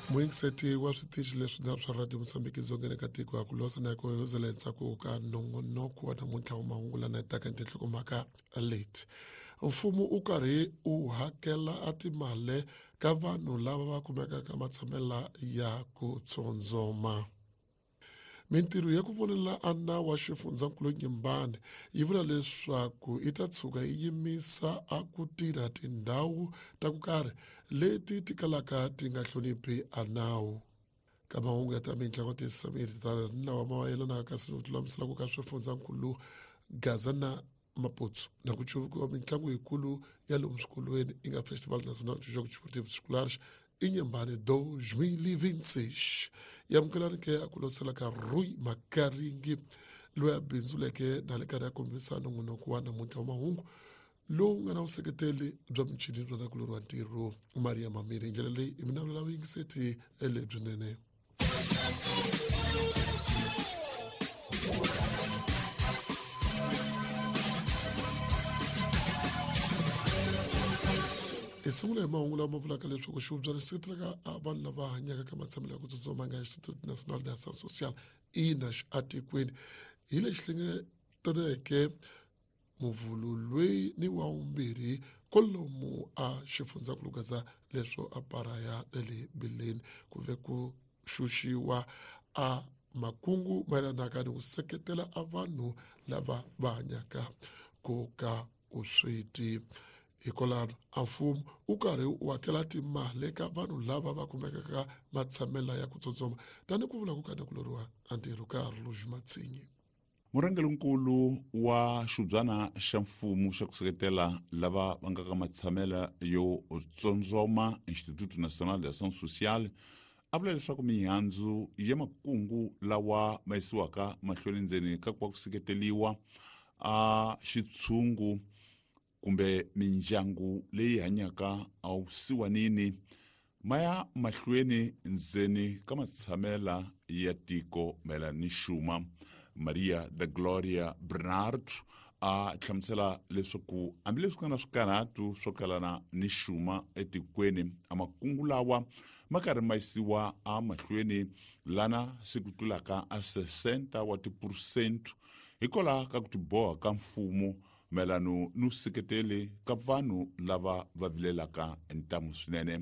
Muyingiseti wa switichi leswi swa Radio Mozambique dzongeni ka tiko ya ku losa na ku yozela endzhaku ka nongonoko wa namuntlha wa mahungu lana taka tinhlokomhaka leti. Mfumo u karhi u hakela a timali ka vanhu lava va kumekaka matshamela ya ku tsondzoma. Mintirho ya ku vonela a nawu wa xifundzankulu Nyimbani yi vula leswaku yi ta tshuka yi yimisa a ku tirha tindhawu ta ku karhi leti ti kalaka ti nga hloniphi a nawu. Ka mahungu ya ta mitlangu tisamiri ta lawa ma yelanaka kasi ku lulamisela ku ka swifundzankulu Gaza na Maputo na ku cuvukiwa mitlangu yikulu ya lomu swikolweni yi nga Festival Nacional de Jogos Desportivos Escolares Inhambane 2026. Yamukelani ke a ku losela ka Rui Makaringi loyi a bindzuleke na le karhi ya kombisa nongonoko wa namuntlha wa mahungu lowu nga na vuseketeli bya michini bya nakulorhi wa ntirho Maria Mamiri. Hi ndlela leyi i minavula vuyingiseti lebyinene. Hi sungula hi mahungu lama vulaka leswaku xihubyana xi seketelaka vanhu lava hanyaka ka matshamelo ya ku tsutsuma nga Instituto Nacional de Ação Social INAS atikweni hi lexi hlengeletaneke muvhulu loyi ni wa vumbirhi kwalomu a xifundzankulu Gaza leswo a paraya na le bileni ku ve ku xuxiwa a makungu mayelanaka ni ku seketela a vanhu lava va hanyaka ku ka vusweti. Hikwalaho a mfumo wu karhi wu hakela timali eka vanhu lava va kumekaka matshamela ya ku tsotsoma tani ku vula ku ka nakuloriwa a ntirho ka Rluj Matsinyi. Murhangerinkulu wa xibyana xa mfumo xa ku seketela lava va nga ka matshamela yo tsondzoma Instituto Nacional de Ação Social a vula leswaku mihandzu ya makungu lawa ma yisiwaka mahlweni ndzeni ka ku va ku seketeliwa a xitshungu kumbe mindyangu leyi hanyaka awusiwanini ma ya mahlweni ndzeni ka matshamela ya tiko mayelana ni xuma. Maria da Gloria Bernard a hlamusela leswaku hambileswi ku nga na swikarhatu swo kalana ni xuma etikweni, a makungu lawa ma karhi ma yisiwa emahlweni lana se ku tlulaka a 60 wa tiphurusente hikwalaho ka ku tiboha ka mfumo mayelano ni vuseketeli ka vanhu lava va vilelaka ntamu swinene.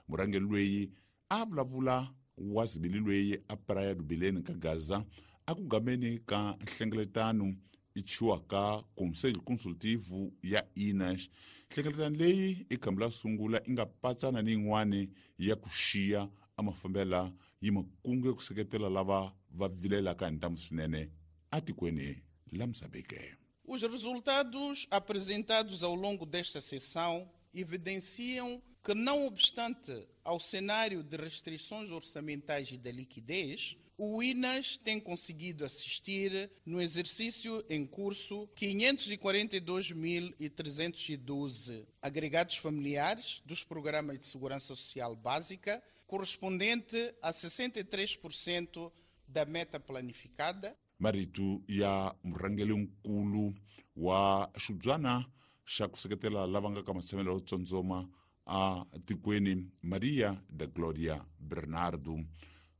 Murhangeri loyi a vulavula wa zibili loyi a Praia do Belém ka Gaza a ku gameni ka nhlengeletano i chiwaka Conselho Consultivo ya INAS. Nhlengeletano leyi i khambi la sungula i nga patsana ni yin'wani ya ku xiya a mafambela yi makungu ya ku seketela lava va vilelaka hi ntamu swinene atikweni la Mozambique. Os resultados apresentados ao longo desta sessão evidenciam que, não obstante ao cenário de restrições orçamentais e da liquidez, o INAS tem conseguido assistir, no exercício em curso, 542.312 agregados familiares dos programas de segurança social básica, correspondente a 63% da meta planificada. Marito ya murhangerinkulu wa xibyana xa ku seketela lava nga ka matshamelo yo tsondzoma a tikweni Maria da Gloria Bernardo.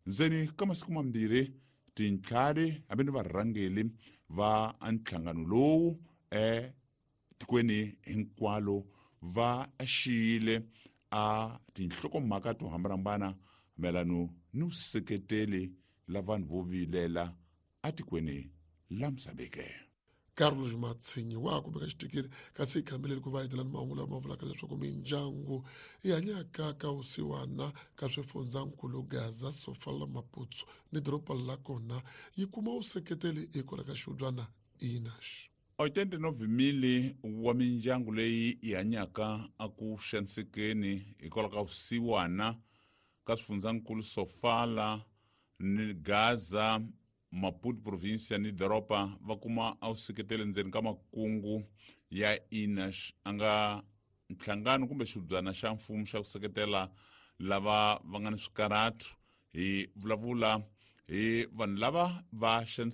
Ndzeni ka masiku mambirhi tintlhari hambi ni varhangeli va nhlangano lowu etikweni hinkwalo va xiyile a tinhlokomhaka to hambanahambana mayelano ni vuseketeli la vanhu vo vilela atikweni la Mozambique. Carlos Matsinyi wa kumeka xitikiri kasi hi khambeleni ku va hetelani mahungu lama vulaka leswaku mindyangu yi hanyaka ka vusiwana ka swifundzankulu Gaza, Sofala, Maputo ni doroba la kona yi kuma vuseketeli hikwalaho ka xihubyana INAS. 89,000 wa mindyangu leyi yi hanyaka aku xanisekeni hikwalaho ka vusiwana ka swifundzankulu Sofala ni Gaza, Maputo provinsia ni doroba va kuma a vuseketeli ndzeni ka makungu ya INAS a nga nhlangano kumbe xibyana xa mfumo xa ku seketela lava va nga ni swikarhatu. Hi vulavula hi vanhu lava va xanisiwaka.